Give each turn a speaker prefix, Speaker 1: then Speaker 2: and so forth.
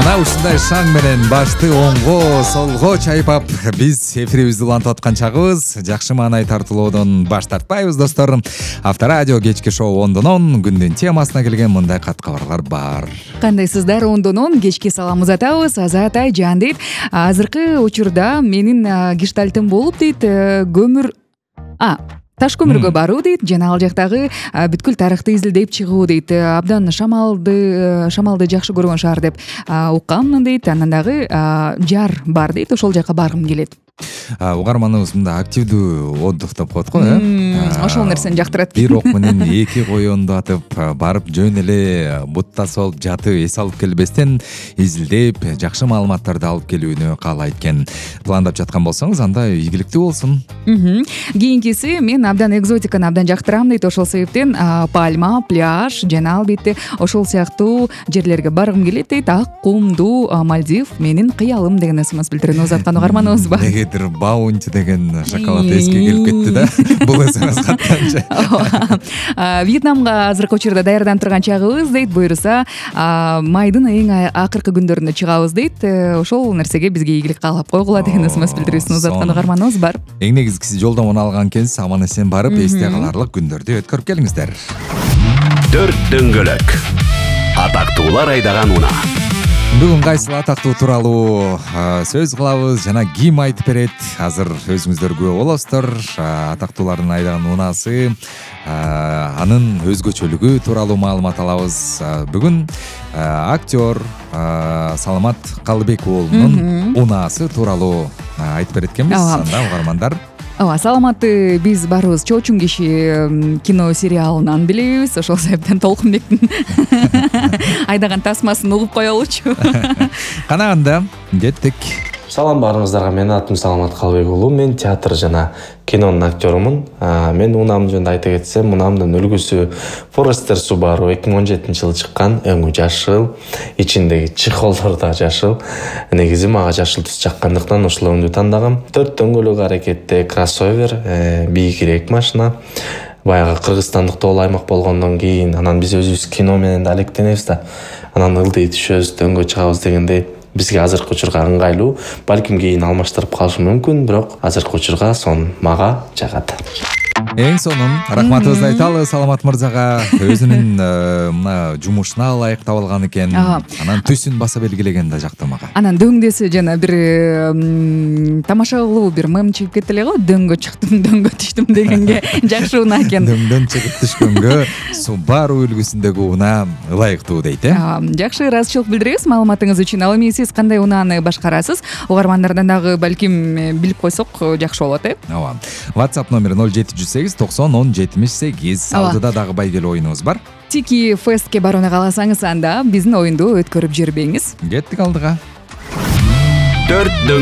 Speaker 1: Мына ушундай шаң менен башты оңго, солго чайпап биз эфирибизди улантып аткан чагыбыз. Жакшы маанай тартуулоодон баш тартпайбыз достор. Авторадио кечки шоу 10-дон күндүн темасына келген мындай кат кабарлар бар.
Speaker 2: Кандайсыздар? 10-дон кечки салам узатабыз. Азат Айжан дейт. Азыркы учурда менин гештальтым болуп дейт, таш көмүргө баруу дейт, жана ал жактагы бүткүл тарыхты изилдеп чыгуу дейт. Абдан шамалды жакшы көргөн шаар деп укканмын дейт. Анан дагы жар бар дейт, ошол жака баргым келет.
Speaker 1: Угарманыбыз мында активдүү отдых деп коет го,
Speaker 2: Ошол нерсени жактырат.
Speaker 1: Бир ок менен эки коёнду атып, барып жөн эле бут тасып алып жатып, эс алып келбестен изилдеп, жакшы маалыматтарды алып келүүнү каалайт экен. Пландап жаткан болсоңуз, анда ийгиликтүү болсун.
Speaker 2: Кийинкиси, мен абдан экзотиканы абдан жактырам дейт. Ошол себептен Пальма, пляж жана албетте ошол сыяктуу жерлерге баргым келет дейт. Ак кумдуу Мальдив менин кыялым деген смс билдирүүнү узаткан угарманыбыз бар.
Speaker 1: Негедир Баунти деген шоколад эске келип кетти да. Бул смс каттанчы.
Speaker 2: Вьетнамга азыркы учурда даярданып турган чагыбыз дейт. Буюрса, майдын эң акыркы күндөрүндө чыгабыз дейт. Ошол нерсеге бизге ийгилик каалап койгула деген смс билдирүүсүн узаткан угарманыбыз бар.
Speaker 1: Эң негизгиси жолдомону алган экенсиз, аман эсен барып, эсте каларлык күндөрдү өткөрүп келиңиздер.
Speaker 3: 4 дөңгөлөк. Атактуулар айдаган унаа.
Speaker 1: Бүгүн кайсыл атактуу тууралуу сөз кылабыз жана ким айтып берет? Азыр өзүңүздөр күбө болосуздар. Атактуулардын айдаган унаасы, анын өзгөчөлүгү тууралуу маалымат алабыз. Бүгүн актер Саламат Калыбек уулунун унаасы тууралуу айтып берет экенбиз. Анда угармандар
Speaker 2: Саламатты биз барыбыз Чоочун киши кино сериалынан билебиз. Ошол себептен Толкунбектин айдаган тасмасын угуп коелучу.
Speaker 1: Кана анда кеттик.
Speaker 4: Салам баарыңыздарга, менин атым Саламат Калыбек уулу. Мен театр жана кинонун актерумун. Мен унаам жөнүндө айта кетсем, унаамдын үлгүсү Forester Subaru 2017-жылы чыккан, өңү жашыл, ичиндеги чехолдор да жашыл. Негизи мага жашыл түс жаккандыктан ушул өңдү тандагам. 4 дөңгөлөк аракетте кроссовер, бийикирээк машина. Баягы Кыргызстандык тоол аймак болгондон кийин, анан биз өзүбүз кино менен да алектенебиз да. Анан ылдый түшөбүз, дөңгө чыгабыз дегенде бизге азыркы учурга ыңгайлуу. Балким кийин алмаштырып калышы мүмкүн, бирок азыркы учурга мага жагат.
Speaker 1: Эң сонун рахматыбызды айталы Саламат мырзага. Өзүнүн мына жумушуна ылайык табылган экен. Анан түсүн баса белгилеген да жакты мага.
Speaker 2: Анан дөңдөсү жана бир тамаша кылуу бир мем чыгып кетти эле го. Дөңгө чыктым, дөңгө түштүм дегенге жакшы унаа экен.
Speaker 1: Дөңдөн чыгып түшкөнгө Subaru үлгүсүндөгү унаа ылайыктуу дейт,
Speaker 2: Жакшы ыраазычылык билдиребиз маалыматыңыз үчүн. Ал эми сиз кандай унааны башкарасыз? Угармандардан дагы балким билип койсок жакшы болот,
Speaker 1: WhatsApp номери 0708 90 10 78. Алдыда дагы байгелүү оюнубуз бар.
Speaker 2: Тики фестке барууну кааласаңыз, анда биздин оюнду өткөрүп жибербеңиз.
Speaker 1: Кеттик алдыга.
Speaker 3: 4